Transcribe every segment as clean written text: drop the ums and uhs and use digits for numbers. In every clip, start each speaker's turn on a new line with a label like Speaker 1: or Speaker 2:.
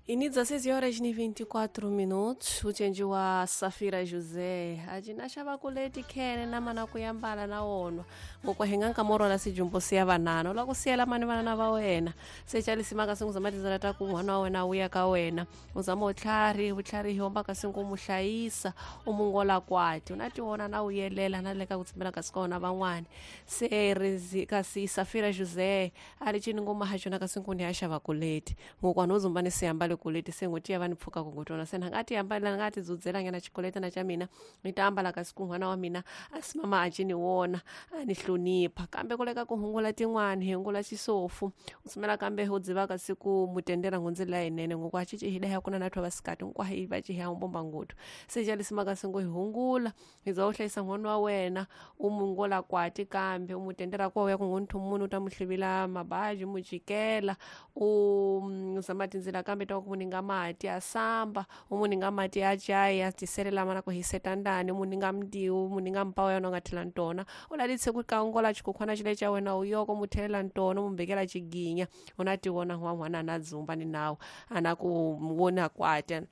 Speaker 1: E 16 horas e 24 minutos, ucenji wa Safira José acina xava kuleti khene na mana kuyambala na wona ngokwahenga nkamoro la sijumbo siya vanana la ku siyela mani vanana va wena se calisimaka singu zama tindzela ta ku n'wana wa wena wu ya ka wena u zama utlhari vutlhari hi hombaka singu u mu hlayisa u mu ngola kwati u na tiwona na wu yelela na le ka ku tshembela kasi ka wona van'wani se rizi kasi Safira José a ri cini ngoma ha xona kasi nkuni ya xava kuleti ngokwana u zumba ni siyambale kuleti se ngoti ya va ni pfuka ku ngotona se nga ti ambalela nga ti dzudzela ngena xikoleta na xa mina ni ta ambala kasi ku n'wana wa mina a si mama a cini wona a ni hlonipha kambe ku leka ku hungula tin'wani hi hungula xisofu u sumela kambe u dziva kasi ku mutendela ngundzela yinene ngoko a cici hida ya kuna na thwa vasikati ngoko hi va ci ya mbomba ngothu se calisima kasi ngo hi hungula hi za u hlayisa n'wana wa wena u mu ngola kwati kambe u mu tendela kwa ya ku ngonthu munhu u ta mu hlivila mabaji mu jikela u zama tindzela kambe ta ku muninga mati a samba u muninga mati a chai a tiselela mana ku hiseta ndani u muninga mndiwu u muninga mpawu ya wena u nga thela ntona u lalise ku kangola xikhukhwana xile xa wena u yoko mu thelela ntona u mu mbekela xiginya u na ti vona n'wan'wana na dzumba ni nawu a na ku vona kwati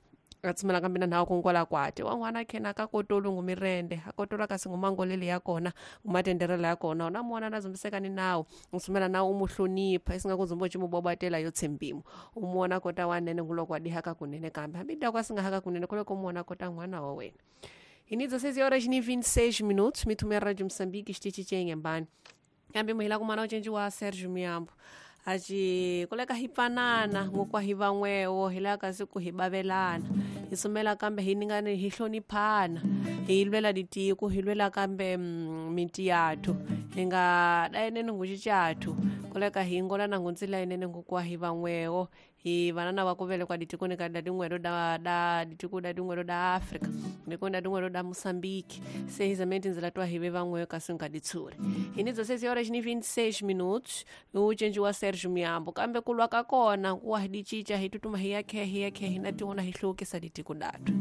Speaker 1: a tsumela kambe na nhawu kungola kwati wan'wana khena ka kotolu ngumirende a kotola kasi ngumangolele ya kona ngumatenderela ya kona una muona na zumbiseka ni nawu u tsumela nawu u mu hlonipha isinga ku zumba u cimubwabwatela yo tshembimo u muona kota wanene nguloko wa dihaka kunene kambe hambi dako a singa haka kunene kuloko u muona kota n'wana wa wena. E 16 horas e 26 minutos, mitumia Rádio Moçambique, xitichi kambe muhila kumana ucenji wa Sérgio Miambo aci kuleka hi pfanana ngokwa hi van'wewo hi lava kasi ku hi bavelana hi sumela kambe hi ningani hi hloniphana hi lwela ditiko hi lwela kambe miti yathu hi nga dayeneni nguxicathu kuleka hi ngolana ngundzila yinene ngokwa hi van'wewo hi vanana va ku velekwa ditikoni ka da din'welo da da ditiko da din'welo da Afrika ndikoni da din'welo da Moçambique se hi zameni tindzela twa hi ve van'weyo kasi nga ditshuri hi ni 16 horas ni 26 minutos ucenji wa Sergio Miambo kambe ku lwa ka kona ku wa hi di cinca hi tutuma hi ya khe hi ya khe hi na tiwona hi hluvukisa ditiko datu.